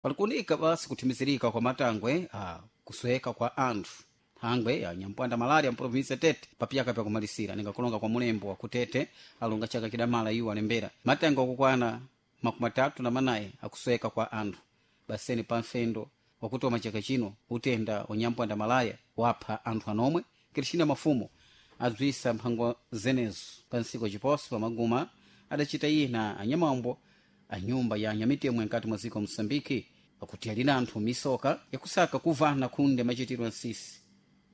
Palikunika basi kuthimizirika kwa matangwe a kusweka kwa anthu thangwe ya nyampwanda malaria mprovinsi Tete papyaka pyakumalisira ningakulonga kwa mulembo wa kutete alonga chaka chidamala iwo alembera matangwe akukwana 34 akusweka kwa anthu baseni pa mfendo wakutoma chaka chino utenda wanyampwanda malaya wapha anthu anomwe. Kristina Mafumo adzwisa mphango zenezo pa ntsiku chiposo pamaguma adacita iye na anyamambo a nyumba ya anyamitemo nkati mwa dziko Moçambike pakuti alina anthu misoka yakusaka kuvana khunde machitidwe ansisi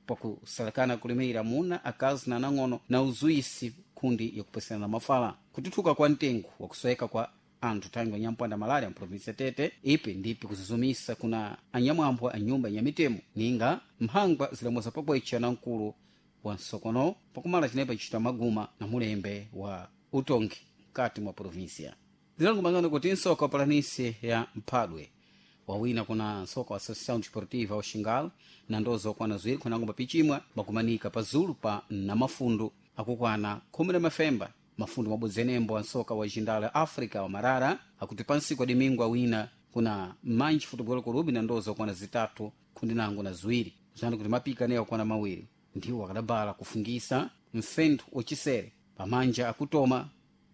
pakusalakana kulimira amuna akazi na anang'ono na uzuisi khundi yakupesana na mafala kututhuka kwa mtengo wakusweka kwa anthu thangwi anyampwanda malaria mprovinsi ya Tete ipi ndipi kuzuzumisa kuna anyamwambo a nyumba ya mitemo ninga mphangwa zilamuza pakwecha na mkulu wa nsokono pakumala chinepa chita maguma na mulembe wa utongi mkati mwa provinsia. Zilangumangano kuti nsoka wa palanisi ya mphadwe wawina kuna nsoka wa Associação Desportiva wa na ndozo okwana ziwiri khunango mapichimwa makumanika pazulu pa namafundu akukwana khumi na mafemba mafundu mabodzi enembo a nsoka wa jindala Africa wa Marara akuti pansi kwa domingo awina kuna Manji Futebol Clube na ndozo okwana zitatu khundinango na ziwiri zani kuti mapika naye akwana mawiri ndiwo akadabala kufungisa mfentho wachisere pamanja akutoma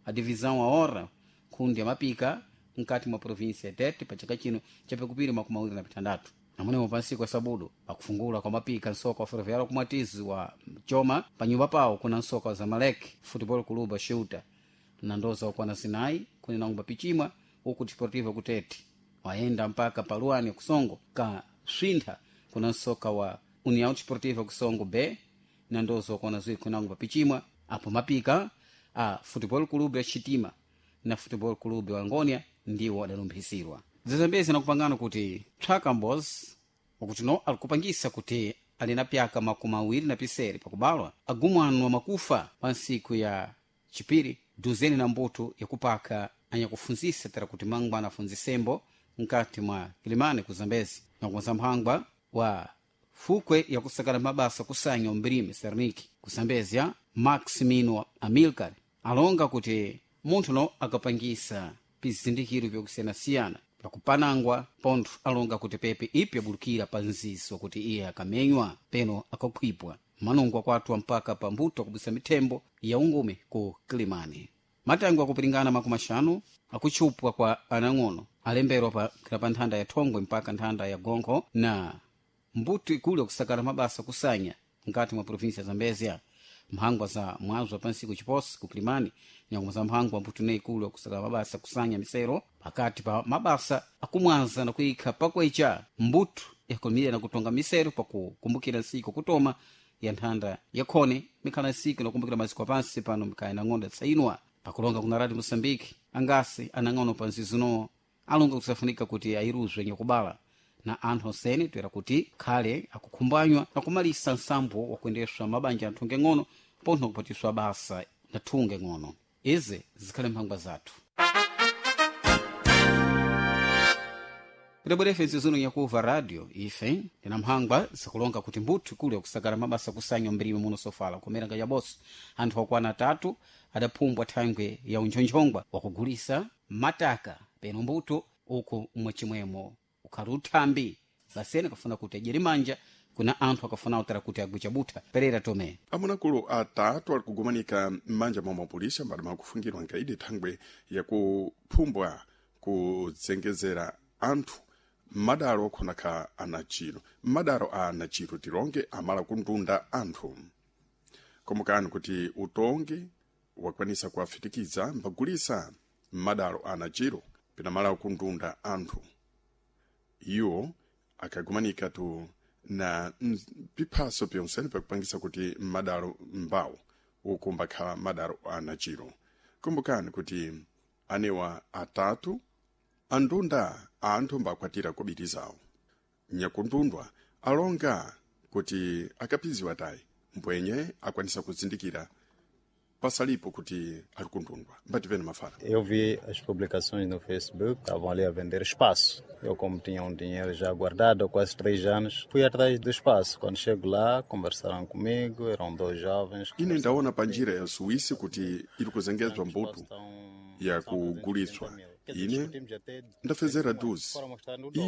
a divisão a hora khundi amapika mkati mwa provinsi ya Tete pa chaka chino chapikupiri 26 namunemo pansiku sabudu pakufungula kwa mapika nsoka wa ferroviário kumwatizi wa choma panyumba pawo kuna nsoka wa Zamalek Futebol Clube Shuta na ndoza okwana zinayi kuni mapichimwa uku Desportivo kutete wayenda mpaka paluani kusongo ka swintha kuna nsoka wa União Desportiva kusongo B na ndoza okwana ziwiri kuni mapichimwa apo mapika a Futebol Clube ya Chitima na Futebol Clube wa Angonia ndiwo adalumphisirwa. Zizambezi nakupangana kuti Twakambos wakuti no alikupangisa kuti ali na pyaka 27 pakubalwa agumwanu wa makufa pa ntsiku ya chipiri duzeni na mbuto yakupaka anyakufunzisa tera kuti mangwana afunzisembo mkati mwa Kilimani ku Zambezi nakukonza mphangwa wa fukwe yakusakala mabasa kusanya umbirime Serniki ku Zambezia Maximino Amilcar alonga kuti munthu no akapangisa pizindikiro vyakusiyanasiyana vyakupanangwa pontho alonga kuti pepe ipi abulukira pa nziso kuti iye akamenywa peno akakhwipwa manungwa kwathu mpaka pa mbuto akubisa mithembo ya ungume ku Kilimani. Matangwe akupiringana 50 akutchupwa kwa anang'ono alemberwa pa nthanda ya Thongwe mpaka nthanda ya Gonkho na mbuto ikulu yakusakala mabasa kusanya mkati mwa provinsi ya Zambezia. Mphangwa za mwazo wa pansiku chiposi ku Kilimani nyakuma za mphangwa mbuto ne ikulu yakusakala mabasa kusanya misero pakati pa mabasa akumwaza na kuyikha pakwecha mbuto yakulimira na kutonga misero pakukumbukira nsiku kutoma ya nthanda yakhone mikhala nsiku nakumbukira maziko apansi pano mikaya nang'ono yatsayinwa pakulonga kuna Radio Moçambique angasi anang'ono pa nzizino alonga kusafunika kuti ayiruzwe nyakubala na anthu onsene toera kuti khale akukhumbanywa na kumalisa nsambo wakuendeswa mabanja a thunge ng'ono pontho kupatiswa basa na thunge ng'ono. Izi zikhale mphangwa zathu tidabwerefe nzizino nyakuva radio ife tina mphangwa zikulonga kuti mbuthu ikulu yakusakala mabasa kusanya mbirime muno sofala kumera nga yaboso anthu akwana atatu adaphumbwa thangwe ya unchonchongwa wakugulisa mataka peno mbuto uku mwachimwemo ukhali uthambi basene akafuna kuti adyere manja kuna anthu akafuna utara kuti agwicha butha. Perera Tome. Amunakulu atatu ali kugumanika m'manja mwa mapolisa mbali mwakufungirwa nkaidi thangwe yakuphumbwa kudzengezera anthu m'madalo okhonakha anachiro m'madalo a anachiro tilonge amala kundunda anthu. Komokani kuti utongi wakwanisa kuwafitikiza mbagulisa m'madalo a anachiro pinamala kundunda anthu iwo akagumanika tu na piphaso pyonsene pakupangisa kuti m'madalo mbawo uku mbakhala madalo anachiro. Kumbukani kuti anewa atatu andunda anthu mbakwatira kobiri zawo nyakundundwa alonga kuti akapiziwa tayi mbwenye akwanisa kuzindikira pasalipo kuti ali kundundwa mbativene mafala. Eu vi as publicações no Facebook, estavam ali a vender espaço. Eu, como tinha um dinheiro já guardado há quase 3 anos, fui atrás do espaço. Quando chego lá, conversaram comigo, eram dois jovens. Ine ndaona pa njira ya Suíça kuti iri kuzengezwa mbuto yakuguliswa. Ine ndafezera 12.